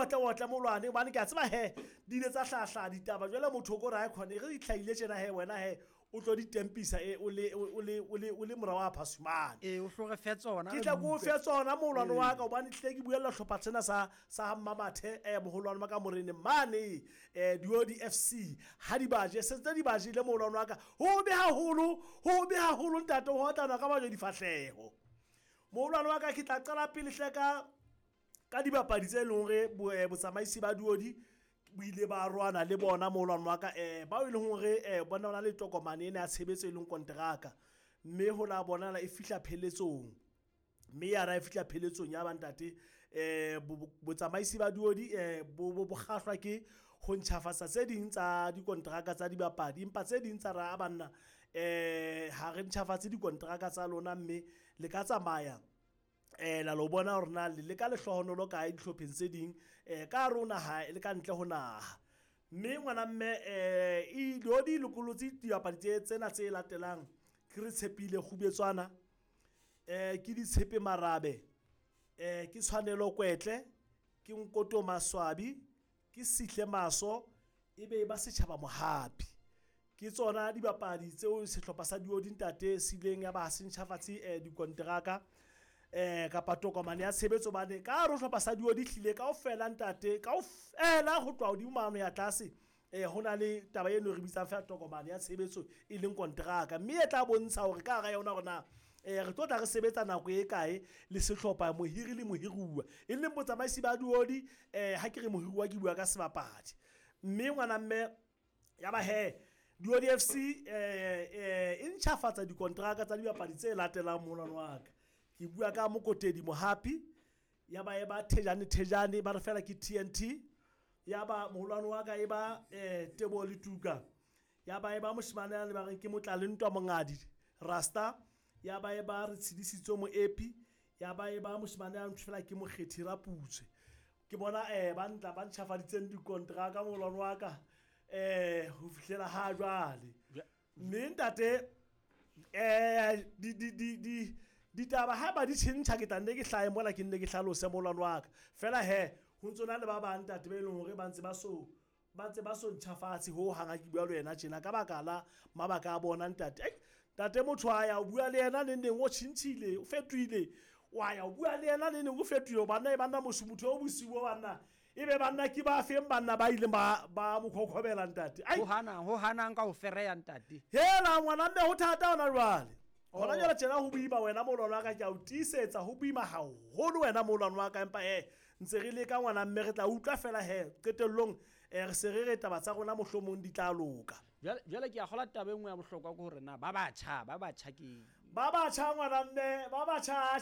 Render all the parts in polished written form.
otle otle molwane hobane ke a tseba he di ile tsa hlahla ditaba jwale motho o ko re ha khone re di hlahile tjena he wena he o tlo di tempisa e o le o le o le o le mora wa phasumane ee o hlo re fe tsona ke tla ko fe tsona moholwane wa ka hobane tlile ke buella hlopha sena sa sa Mmamathe moholwane wa ka moreneng mane Diodi FC ha di baje se tse di bajile moholwane wa ka ho be haholo ho be haholo ntate ho otlana ka bajo difahleho moholwane wa ka ke tla qala pele hle ka ka dibapadi tse leng hore botsamaisi ba Diodi bo ile ba rwana le bona moholwane wa ka bao e leng hore bona na le tokomane ena ya tshebetso e leng konteraka mme ho la bonala e fihla pheletsong mme ya ra e fihla pheletsong ya bantate botsamaisi ba Diodi bo kgahlwa ke ho ntjhafatsa tse ding tsa dikonteraka tsa dibapadi empa tse ding tsa ra banna ha re ntjhafatse dikonteraka tsa lona mme le ka tsamaya la lo bona hore na le ka lehlohonolo kae dihlopheng tse ding ka hare ho naha le ka ntle ho naha mme ngwana mme e Diodi lokolotse dibapadi tse tsena tse latelang ke re tshepile Kgubetswana ke Ditshepe Marabe ke Tshwanelo Kwetle ke Nkoto Maswabi ke Sihle Maso ebe ba setjhaba Mohapi ke tsona dibapadi tseo sehlopha sa Diodi ntate se ileng ya ba se ntjhafatse dikonteraka kapa tokomane ya tshebetso bane ka hare ho sehlopha sa Diodi hlile kaofela ntate kaofela ho tloha hodimo mane ya tlase ho na le taba eno re bitsang fela tokomane ya tshebetso e leng konteraka mme e tla bontsha hore ka hara yona hore na re tlo tla re sebetsa nako e kae le sehlopha mohiri le mohiruwa e leng botsamaisi ba Diodi ha ke re mohiruwa ke bua ka sebapadi mme ngwana mme ya ba he Diodi FC e ntjhafatsa dikonteraka tsa dibapadi tse latelang molwane wa ka ke bua ka Mokotedi Mohapi ya ba e ba Thejane Thejane ba re fela ke TNT ya ba moholwane wa ka e ba Tebo Letuka ya ba e ba moshemane ya le ba reng ke Motlale Ntwa Mongadi Rasta ya ba e ba re tshedisitswe Moepi ya ba e ba moshemane ya ntho fela ke Mokgethi Raputswe ke bona ba ntla ba ntjhafaditseng dikonteraka moholwane wa ka ho fihlela ha jwale mme ntate di ditaba ha ba di tjhentjha ke tla nne ke hlahe mola ke nne ke hlalose moholwane wa ka fela he ho ntso na le ba bang ntate ba e leng hore ba ntse ba so ntjhafatse ho hang ha ke bua le wena tjena ka baka la mabaka a bona ntate. Ntate motho a ya o bua le yena neng neng o tjhentjhile o fetohile wa ya o bua le yena neng neng o fetohile banna e banna motho motho o bosiu banna e be banna ke ba feng banna ba ileng ba mo khokhobela ntate. Ho hanang ka ho fereya ntate. Hela ngwana mme ho thata hona jwale. Hona jwale tjena ho boima wena moholwane wa ka ke a o tiisetsa ho boima haholo wena moholwane wa ka empa ntse re leka ngwana mme re tla utlwa fela he qetellong re se re re taba tsa rona mohlomong di tla loka. Jwale ke a kgola taba e nngwe ya bohlokwa ke hore na ba batjha ke ba batjha ngwana mme ba batjha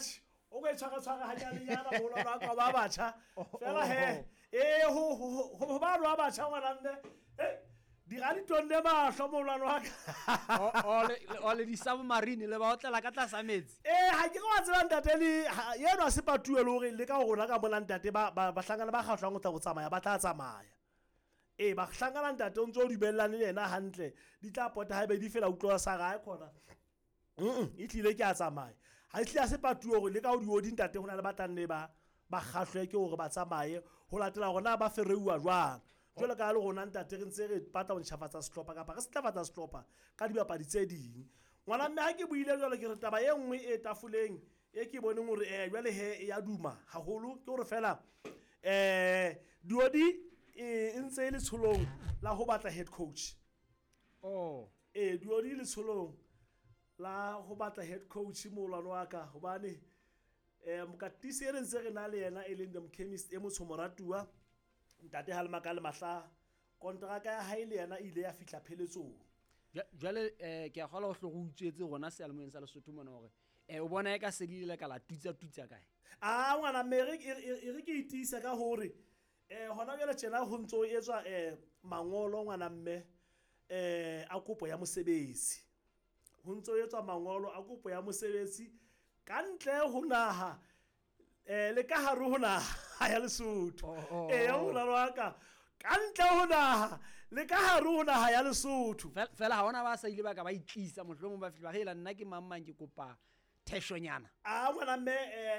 o ka tshwara tshwara hanyane moholwane wa ka ba batjha fela he ho ba ba batjha ngwana mme dira ditonne mahlo moholwane wa ka o le di-submarine le ba otlela ka tlasa metsi ha ke wa tseba ntate le yeno a se patuwe le hore le ka rona ka mona ntate ba bahlangana ba kgahlwang ho tla ho tsamaya ba tla tsamaya ba hlangana ntate o ntso o dumellane le yena hantle di tla pota haebe di fela utlwa sa gae khona e tlile ke a tsamaya ha e tlile a se patuwe hore le ka ho Diodi ntate ho na le ba tlang le ba kgahlwe ke hore ba tsamaye ho latela hore na ba fereuwa jwang jwalo ka le rona ntate re ntse re batla ho ntjhafatsa sehlopha kapa re setlafatsa sehlopha ka dibapadi tse ding ngwana mme ha ke buile jwalo ke re taba e nngwe e tafoleng e ke boneng hore jwale he e ya duma haholo ke hore fela Diodi e ntse e le tsholong la ho batla head coach. Diodi le tsholong la ho batla head coach moholwane wa ka hobane mokatisi e re ntse re na le yena e leng the chemist e motsho moratuwa ntate Halmaka le Mahla kontraka ya hae le yena ile ya fihla pheletsong. Jwale ke a kgola ho hlo go utswetse rona seyalemoyeng sa Lesotho mona hore o bona e ka sedile le ka la tutsa tutsa kae? Ngwana mme e re ke itiisa ka hore hona jwale tjena ho ntso etswa mangolo ngwana mme a kopo ya mosebetsi. Ho ntso etswa mangolo a kopo ya mosebetsi ka ntle ho naha le ka hare ho naha ya Lesotho. Moholwane wa ka ka ntle ho naha le ka hare ho naha ya Lesotho. Fela ha hona ba sa ile ba ka ba itlisa mohlomong ba fihla ba re nna ke mang mang ke kopa theshonyana. A ngwana mme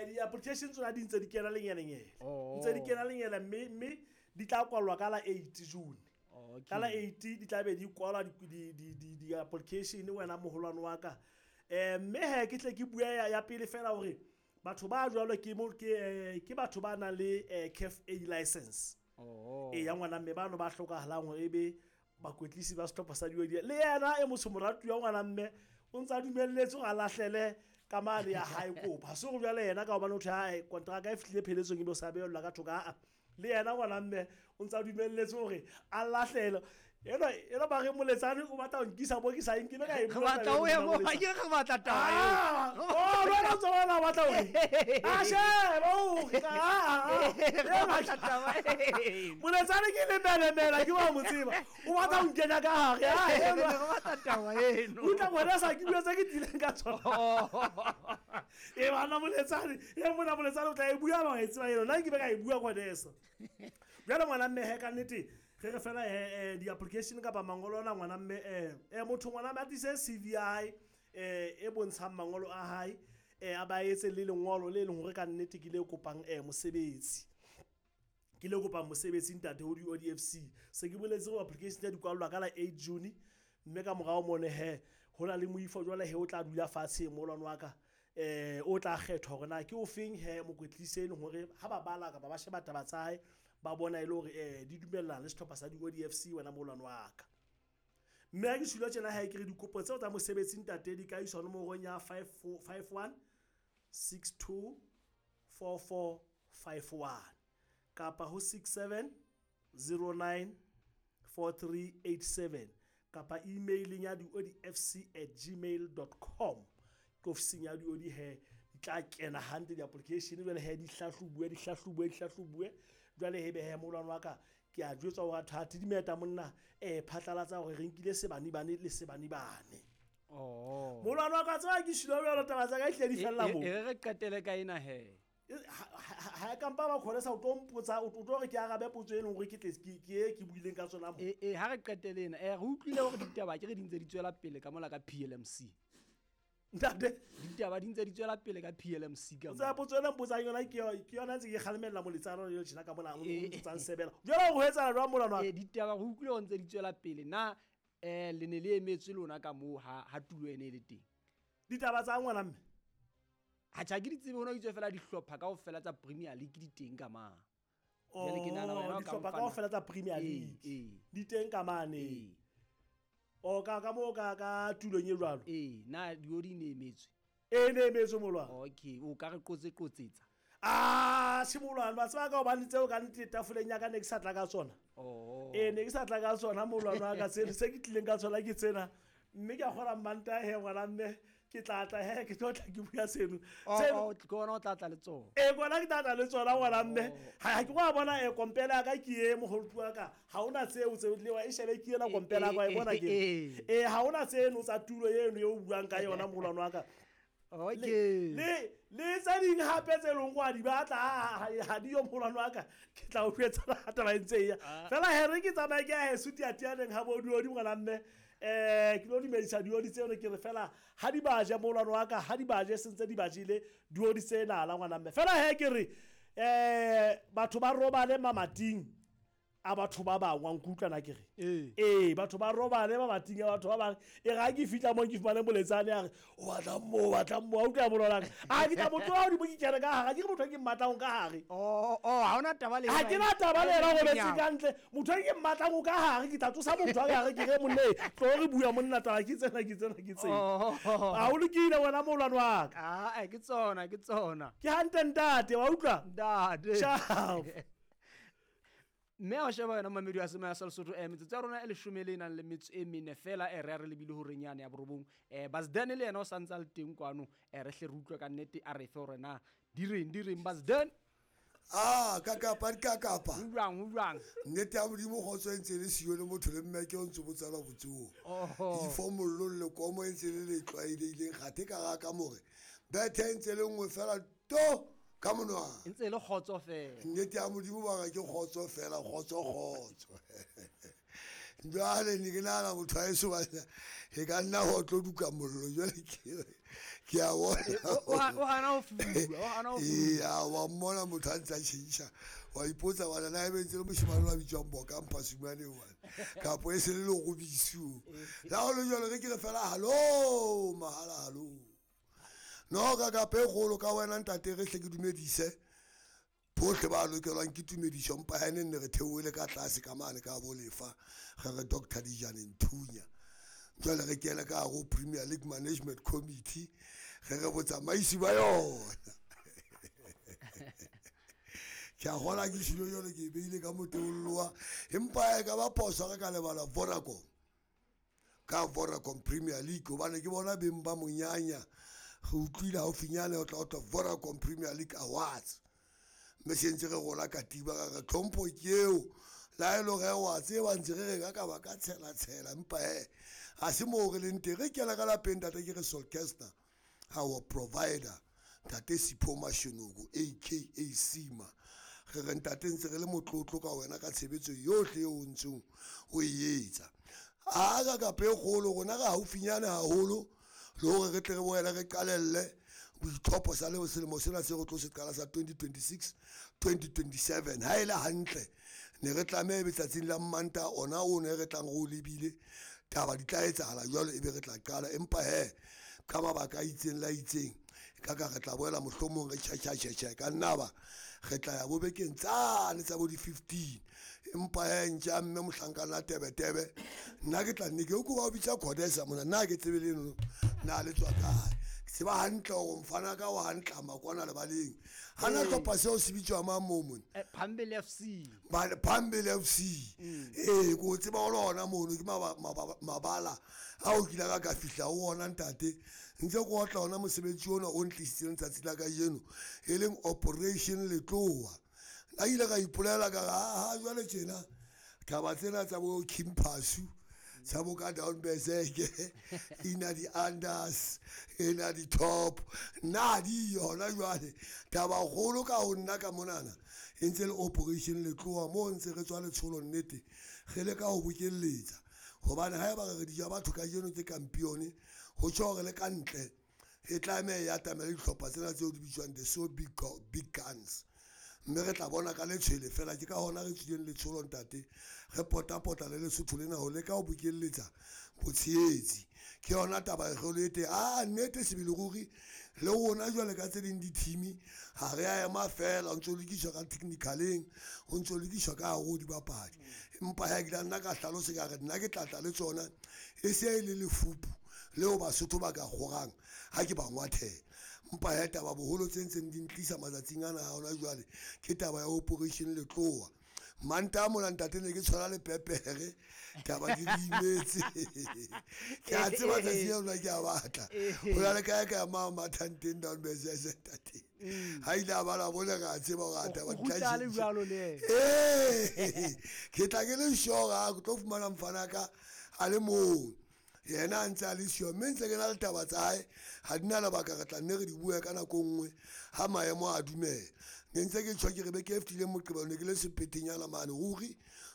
di-application tsona di ntse di kena lenyelenyele. Oh. Ntse di kena lenyele mme di tla kwalwa ka la 8 June. Okay. Ka la 8 di tla be di kwalwa di-application wena moholwane wa ka. Mme he ke tle ke bue ya pele fela hore batho ba jwalo ke mo ke batho ba nang le CAF A license. Oh. E ya ngwana mme bano ba hlokahalang hore ebe bakwetlisi ba sehlopha sa Diodi. Le yena e motho moratuwa ngwana mme o ntsa dumelletse hore a lahlele ka mane ya hae kopo. Ha se hore jwale yena ka hobane ho thwe hae kontraka e fihlile pheletsong ebe o sa behellwa ka thoko, aa. Le yena ngwana mme o ntsa dumelletse hore a lahlele. Ena ba re moletsane o batla ho nkisa mo ke sa eng, ke ne ka e Re bua batla taba o ye eo mo, moletsane. ke re batla taba eo. Ah, oh, le wena o ntso bona o batla hore? Ah, sheba, o re, ah, ah, ah. Re batla taba eo. Moletsane ke lemelemela, ke wa mo tseba. O batla ho nkenya ka hare, ah, Re enwa. batla taba eno. Utlwa ngwana sa ke bua tse ke tlileng ka tsona. E bana moletsane, e mona moletsane o tla e bua ba e tseba eno. Nna ke be ka e bua ngwaneso. Jwale ngwana mme he ka nnete re re fela di-application kapa mangolo ona ngwana mme motho ngwana mme a tlise CV ya hae e bontshang mangolo a hae a ba etse le lengolo le leng hore ka nnete ke le kopang mosebetsi. Ke le kopang mosebetsi ntate ho di-ODFC. Se ke boletse hore application tsa di kwallwa ka la 8 June mme ka morao mone he ho na le moifo jwale he o tla dula fatshe molwane wa ka o tla kgethwa hore na ke ofeng he mokwetlisi e leng hore ha ba bala kapa ba sheba taba tsa hae ba bona e le hore di dumellana le sehlopha sa di-ODFC wena molwane wa ka. Mme ha ke shula tjena hae ke re dikopo tseo tsa mosebetsi ntate di ka iswa nomorong ya 54 51 62 44 51 kapa ho 67 09 4387 kapa emailing ya diodfc@gmail.com. Ke ofising ya diodi he di tla kena hantle di-application jwale he di hlahlobuwe, di hlahlobuwe, di hlahlobuwe. Jwale he be he molwane wa ka ke a jwetswa hore atho ha dimeta monna phatlalatsa hore re nkile sebanibane le sebanibane. Oh. Molwane wa ka tseba ke shilo jwalo taba tsa ka ehlile di fella moo. E re qetele ka ena he. Ha kampa ba khone sa o tlo mpotsa, o tlo re ke arabe potso e leng hore ke tle ke e ke buileng ka tsona mo. E ha re qetele ena. Re utlwile hore ditaba ke re di ntse di tswela pele ka mola ka PLMC. Ntate. Ditaba di ntse di tswela pele ka PLMC ka Tsaya mola. potso ena mpotsang yona ke yona ntse ke kgalemella moletsana le tjena ka mona, o ntsang sebela. Jwale ho etsahala jwang molwana wa ka? Ditaba re utlwile hore ntse di tswela pele. Na le ne le emetswe lona ka moo ha tulo ene e le teng? Ditaba tsa ngwana mme? Ha tjha ke di tsebe, hona ho itswe fela dihlopha kaofela tsa Premier League di teng ka mane. Jwale ke nahana wena o ka Dihlopha mfana- kaofela tsa Premier League di teng ka mane. O ka moo ka tulong e jwalo? Na diodi ne emetswe? E ne emetswe molwana. Okay, o ka re qotse qotsetsa. Ah, se molwana, ba tseba ka hobane tseo ka nnete tafoleng ya ka ne ke sa tla ka tsona. Oh. Ne ke sa tla ka tsona molwana wa ka, tseno se ke tlileng ka tsona ke tsena. Mme ke a kgona Mantaha he ngwana mme ke tla tla he, ke tlo tla ke bua seno. Oh, Seno oh, ke ona o tla tla le tsona. Kona ke tla tla le tsona ngwana mme. Oh. Ha ke wa bona kompela ya ka ke e moholo wa ka. Ha hona tseo tse le wa e shebe ke ena kompela ya ka, wa e bona ke. Ha hona tseno tsa tulo eno eo o buang ka yona molwana wa ka. Okay. Le tse ding hape tse leng wa di batla, ha di yo molwana wa ka. Ke tla o jwetsa ha taba e ntse e ya. Fela he re ke tsamaye ke ya heso tiatianeng ha bo diodi ngwana mme. Ke lo dumedisa diodi tseno ke re fela ha di ba je molwana wa ka, ha di ba je sentse di ba jele diodi tsena la ngwana mme. Fela he ke re batho ba robale mamating a batho ba bangwe, wa nkutlwa na ke re? Batho ba robale mamating a batho ba bangwe. E re ha ke fihla moo ke fumane moletsane a re, o batla moo, o batla moo, a utlwa molwana wa ka. A ke tla mo tloha hodimo ke kene ka hare, ha ke re motho e ke mmatlang ka hare. Oh, oh, ha hona taba le Ha yena ke na taba le yena, e o robetse nyama. ka ntle. Motho e ke mmatlang o ka hare, ke tla tsosa motho a ka hare, ke re monna e, tlo re bua monna taba ke tsena, ke tsena, ke tsena. Oh. Ha o lokile wena molwana wa ka. Ah, ke tsona, ke tsona. Ke hantle ntate, wa utlwa? Ntate. Ciao. Mme ha o sheba yona mamedi wa Semoya sa Lesotho, metsotso ya rona e leshome le nang le metso e mene fela, re ya re lebile horeng yane ya borobong. Basden le yena o sa ntse a le teng kwano, re hle re utlwe ka nnete a re fe hore na di reng, di reng, Basden. Ah, ka kapa, di ka kapa. Ho jwang, ho jwang? Nnete ya Modimo kgotso e ntse le siyo le motho le mme ke o ntse botsala botsoho. Oho. Ifo mollong le komo e ntse le le tlwaelehileng, kgathe ka ga ka more. Bethe e ntse le nngwe fela to ka monwana. E ntse le kgotso fela. Nnete ya Modimo ba re ke kgotso fela, kgotso, kgotso. Jwale ne ke nahana motho wa heso banna e ka nna ho tlo duka mollo jwale ke a bona. O hana ho fuduwa, o hana ho fuduwa. Ee, wa mmona motho a ntse a tjhentjha. Wa ipotsa bana na ebe ntse le moshemane wa bitswang Boka Mphasumane bana. Kapo e se le lerobisi o. Le ha ho le jwalo re ke re fela hallo mahala hallo. No ka kapa e kgolo ka wena ntate re hle ke dumedise. Bohle ba lokelwang ke tumediso mpa ha ne re theohele ka tlase ka mane ka bo lefa re re Dr. Dijane Nthunya. Jwale re kene ka hare ho Premier League Management Committee re re botsamaisi ba yona. Ke a kgola ke tjhilo jwale ke e beile ka moteolloa empa e ka ba phoso re ka lebala Vodacom. Ka Vodacom Premier League hobane ke bona beng ba monyanya. Re utlwile haufinyane ho tla ho thwe Vodacom Premier League Awards. Mme se ntse re rola katiba ka re tlhompho ke eo. Le ha e le hore wa tseba ntse re re ka ka ba ka tshela tshela empa hee ha se moo re leng teng. Re kena ka lapeng ntate ke re Solkester, our provider, ntate Sipho Mashenoko aka Sima. Re re ntate ntse re le motlotlo ka wena ka tshebetso yohle eo o ntseng o e etsa. A ka kapa e kgolo rona re haufinyane haholo le hore re tle re boele re qalelle boitlhopho sa le selemo sena se re tlo se qala sa 2026 2027. Ha e le hantle ne re tlameha ebe tsatsing la Mmantaha ona o ne re tlang re o lebile taba di tla etsahala jwalo ebe re tla qala empa he ka mabaka a itseng la itseng ka ka re tla boela mohlomong re tjhatjha ka nna ba re tla ya bo bekeng tsane tsa bo di 15 empa he ntja mme mohlankana tebetebe nna ke tla nne ke ko ba o bitsa Codesa mona nna ke tsebe le eno na le tswa kae. Ke tseba hantle hore mfana ka wa hantle makwana lebaleng. Hana hlopha seo se bitswa mang moo mona? Phambili FC. Phambili FC. Ee, ko tseba ho lona mono ke mabala a o kile ka ka fihla ho ona ntate. Ntse ke otla ona mosebetsi ona o ntlisitseng letsatsi la kajeno e leng Operation Letloa. Nna ile ka ipolela ka re ha jwale tjena taba tsena tsa bo King Phasu tsa bo ka down berserk ina di unders ina di top nna di yona jwale taba kgolo ka ho nna ka monana e ntse le Operation Letloa mo ntse re tswa letsholo nnete re leka ho bokelletsa hobane haeba re di ja batho kajeno ke kampione ho tjho hore le ka ntle e tlameha ya atamela dihlopha tsena tseo di bitswang the so big big guns mme re tla bona ka letshwele fela ke ka hona re tswileng letsholo ntate re potapota le Lesotho lena ho leka ho bokelletsa botshehetsi. Ke yona taba e kgolo e teng. A nnete sebele ruri le rona jwale ka tse ding di-team ha re a ema fela ho ntso lokiswa ka technicaleng ho ntso lokiswa ka hare ho dibapadi empa ha ke la nna ka hlalosa ka re nna ke tlatla le tsona e se e le lefupu leo Basotho ba ka kgorang ha ke ba ngwathela. Empa he taba boholo tse ntseng di ntlisa matsatsing ana a hona jwale ke taba ya Operation Letloa. Mantaha mona ntate ne ke tshwana le pepere taba di imetse. Ke a tseba tsatsi leo nna ke a batla. Ho na le kae kae ma mathang teng down berserk ntate. Ha ile a bala bone re a tseba hore a taba di tla tjhentjha. Ee, ke tla ke le sure ha ke tlo fumana mfana ka a le mong. Yena a ntse a le siyo mme ntse ke na le taba tsa hae ha di na lebaka re tla nne re di bue ka nako nngwe ha maemo a dumela. Ne ntse ke tjho ke re beke e fetileng Moqebelo ne ke le sepetenyana mane ruri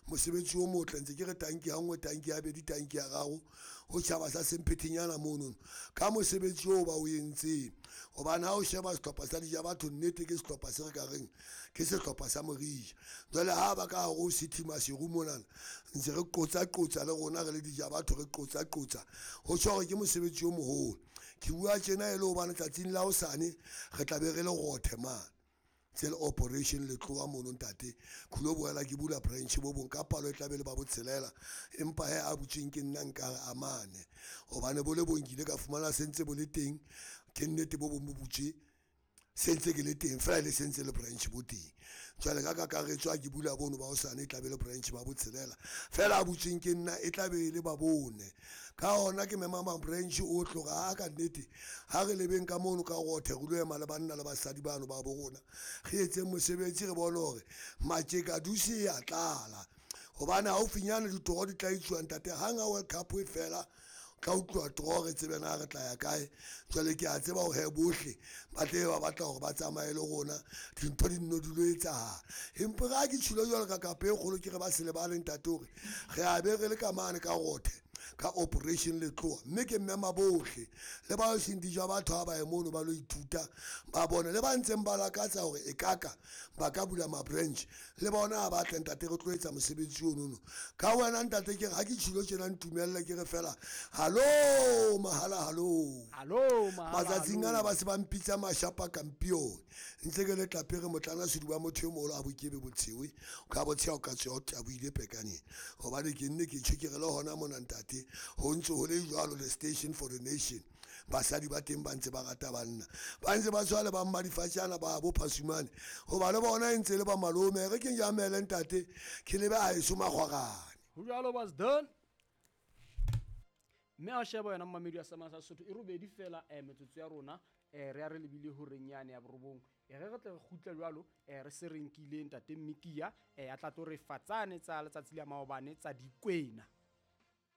mosebetsi o motle ntse ke re tanki ya nngwe tanki ya bedi tanki ya raro ho tjhaba sa sempetenyana mono ka mosebetsi oo ba o entseng hobane ha o sheba sehlopha sa Dija Batho nnete ke sehlopha se re ka reng ke sehlopha sa Morija. Jwale ha ba ka hare ho City Maseru monana ntse re qotsa qotsa le rona re le Dija Batho re qotsa qotsa ho tjho hore ke mosebetsi o moholo. Ke bua tjena e le hobane tsatsing la hosane re tla be re le rothe mane tse le Operation Letloa mono ntate. Ke lo boela ke bula branch bo bong ka palo e tla be le ba botshelela empa he a butsweng ke nna nkare a mane hobane bo le bong ke ile ka fumana se ntse bo le teng ke nnete bo bong bo butswe se ntse ke le teng fela le se ntse le branch bo teng. Jwale ka kakaretso ha ke bula bono ba hosane e tla be le branch ba botshelela fela a butsweng ke nna e tla be e le ba bone. Ka hona ke mema ma branch o tloga ha ka nnete ha re lebeng ka mono ka rothe re lo ema le banna le basadi bano ba bo rona re etseng mosebetsi re bone hore matjeka duse ya tlala hobane haufinyane ditoro di tla etsuwa ntate hang ha World Cup e fela. Tla utlwa tro re tsebe na re tla ya kae. Jwale ke a tseba hore he bohle ba tle ba batla hore ba tsamaye le rona, dintho di nno di lo etsahala. Empa re ha ke tjhilo jwalo ka kapa e kgolo, ke re ba se lebale ntate hore re a be re le ka mane ka Rothe ka Operation Letloa, mme ke mema bohle le ba seng dijo batho ha ba ye mono ba lo ithuta, ba bone le ba ntseng ba lakatsa hore e kaka ba ka bula ma-branch le bona ha ba tle ntate, re tlo etsa mosebetsi onono ka wena ntate. Ke re ha ke tjhilo tjena, ntumelle ke re fela hallo mahala, hallo. Hallo mahala, matsatsing hallo. Ana ba se ba mpitsa mashapa kampione, ntse ke le tlapere motlana seduba motho e moholo a bokebe botshewe ka botsheha o ka tsweha o taboile pekaneng, gobane ke nne ke tjho ke re le hona mona ntate ho ntse ho le jwalo, the station for the nation. Basadi ba teng ba ntse ba rata banna, ba ntse ba tshwana le ba mmadifatjana ba bo phasumane, hoba le bona e ntse le ba malome. Re ke jamele ntate, ke lebe a eso makgwarane. Ho jwalo was done, mme a o sheba yona momamedi wa Samasa Sesotho e robedi fela metsotso ya rona, re ya re lebile horeng yane ya borobong. Re re tle re kgutle jwalo, re se re nkile ntate Mmikia, a tla tlo re fa tsane tsa letsatsi la maobane tsa dikwena.